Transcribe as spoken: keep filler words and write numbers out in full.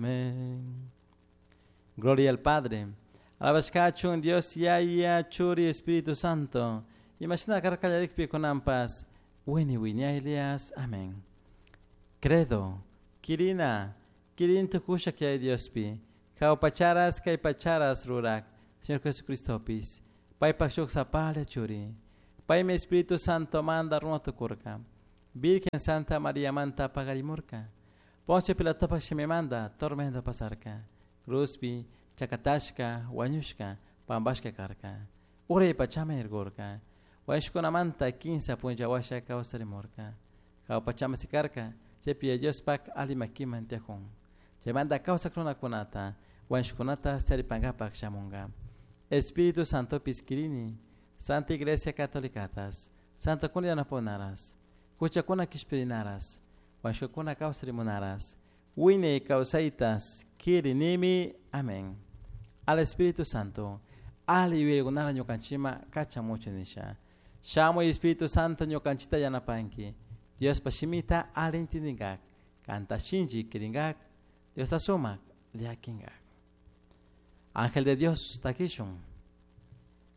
Amén. Gloria al Padre. Alabashkachun Dios Yaya Churi Espíritu Santo. Imashina karkallarikpi kunanpas. Wini wiñaylias. Amén. Credo. Kirina. Kirin tukusha kay Diospi. Jaupacharas kay pacharas rurak. Señor Jesucristopis. Paypak shuk sapalla churi. Paymi Espíritu Santo manda runa tukurka. Virgen Santa María manta pagarimurka. Poncio Pilatopak shimimanda tormenta pasarka. Cruzpi, chakatashka, wañushka, pambashka karka. Uray pachama irgurka. Wañushkunamanta kinsa punlla washa kawsarimurka. Jawpachama sikarka, chaypi Diospak ali makiman tiyakun. Chaymanta kawsak runakunata, wañushkunata charipankapak shamunka. Espíritu Santo kirini, Santa Iglesia Católicatas, Santa kuna yanaponaras, huchakuna kishpirinaras, wañushkakuna kawsarimunaras, wiñay kawsaytas kirinimi. Amén. Al Espíritu Santo, ali yuyaykunara ñukanchikma kachamuchu nisha. Shamuy Espíritu Santo ñukanchikta yanapanki. Diospa shimita ali intindinkak, kanta shinchi kirinkak, Diosta sumak llakinkak. Ángel de Dios, takishun.